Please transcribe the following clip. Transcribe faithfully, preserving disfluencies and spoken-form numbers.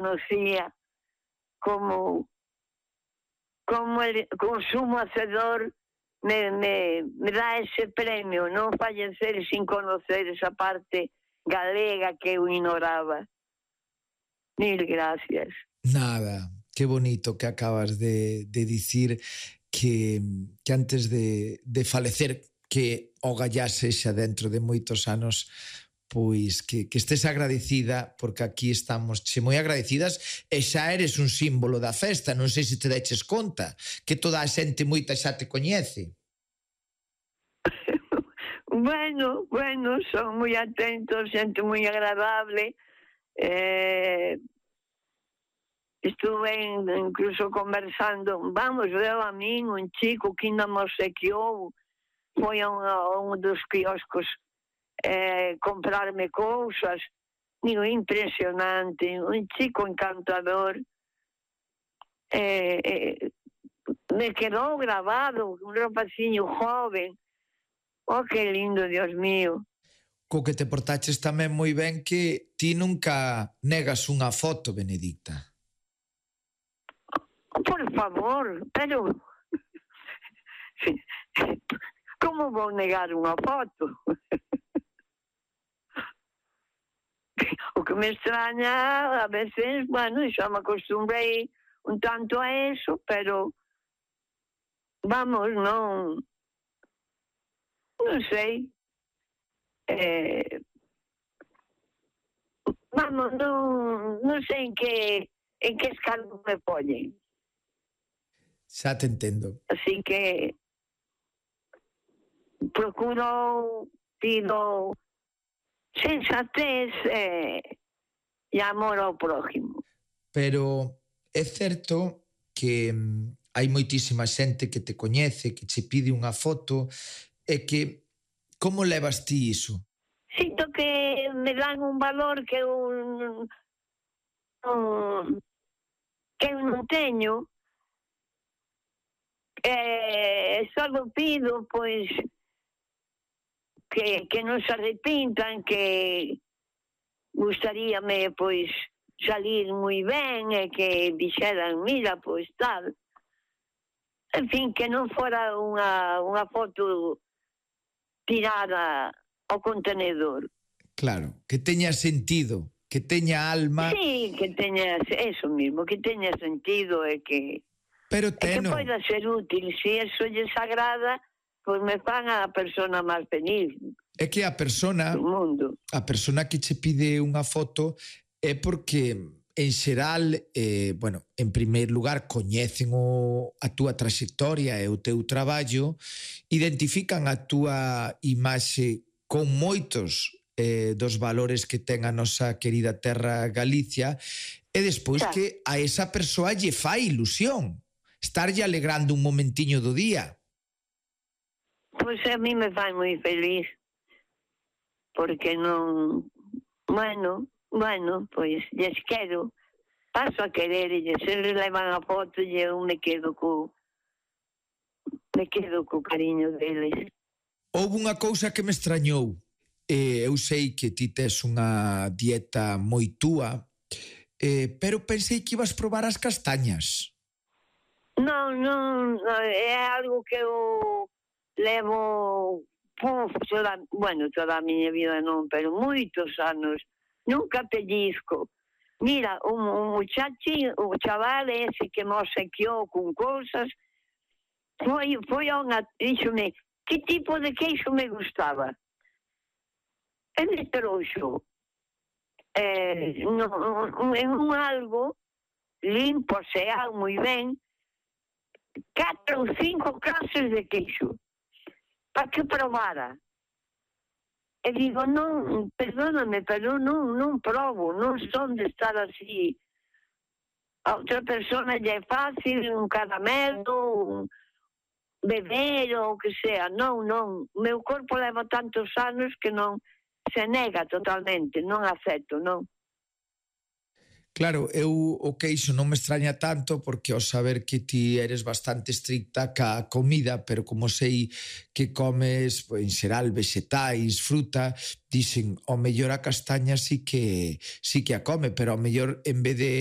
conocía como, como el consumo hacedor me, me, me da ese premio, non fallecer sin conocer esa parte galega que eu ignoraba. Mil gracias. Nada, qué bonito que acabas de, de dicir que, que antes de, de falecer, que o gallase xa dentro de moitos anos, pois que, que estés agradecida, porque aquí estamos che moi agradecidas e xa eres un símbolo da festa. Non sei se te deches conta que toda a xente moita xa te coñece. Bueno, bueno, son moi atentos, xente moi agradable. Eh, estuve incluso conversando, vamos, veo a min, un chico que ainda me obsequiou, foi a un, a un dos quioscos eh, comprarme cousas. Digo, impresionante, un chico encantador. Eh, eh, me quedou grabado, un rapaciño joven. Oh, que lindo, Dios mío. Co que te portaches tamén moi ben que ti nunca negas unha foto, Benedicta. Por favor, pero como vou negar unha foto? O que me extraña a veces, bueno, xa me acostumbrei un tanto a eso, pero vamos, non non sei. Eh, vamos, non, non sei en que en que escalón me poñen. Xa te entendo. Así que procuro, pido sensatez eh, e amor ao prójimo. Pero é certo que mm, hai moitísima xente que te coñece, que che pide unha foto, e que como levas ti iso? Sinto que me dan un valor que eu non, que eu non teño. Eh, só pido, pois, que, que non se arrepintan, que gustaríame, pois, salir moi ben e que dixeran, mira, pois, tal. En fin, que non fora unha, unha foto tirada ao contenedor. Claro, que teña sentido, que teña alma. Sí, que teña, eso mismo, que teña sentido e que... Pero teno. É que poida ser útil, se eso lles agrada, pois me fan a persona máis feliz. É que a persona, do mundo. A persona que che pide unha foto é porque en xeral, eh, bueno, en primeiro lugar coñecen o, a túa trayectoria e o teu traballo, identifican a túa imaxe con moitos eh, dos valores que ten a nosa querida terra Galicia, e despois Xa. que a esa persoa lle fai ilusión estarlle alegrando un momentiño do día. Pois a mí me fai moi feliz, porque non, bueno, bueno, pois lles quero, paso a querer, e se les levan a foto e eu me quedo co me quedo co cariño deles. Houve unha cousa que me extrañou. Eh, eu sei que ti tes unha dieta moi túa, eh, pero pensei que ibas probar as castañas. Non, non, é algo que eu levo, puf, toda, bueno, toda a miña vida non, pero moitos anos, nunca pellizco. Mira, un, un muchachi, o chaval ese que me obsequiou con cousas, foi, foi a unha, díxome, que tipo de queixo me gustaba? E me trouxo eh, no, en un algo limpo, seal, moi ben, catro ou cinco clases de queixo para que probara. E digo, non, perdóname, pero non, non probo, non son de estar así. A outra persona lle é fácil, un caramelo, un beber ou o que sea. Non, non, o meu corpo leva tantos anos que non se nega totalmente, non acepto, non. Claro, eu o queixo non me extraña tanto porque ao saber que ti eres bastante estricta ca comida, pero como sei que comes en xeral vexetais, fruta, dixen, ao mellor a castaña sí que sí que a come, pero ao mellor en vez de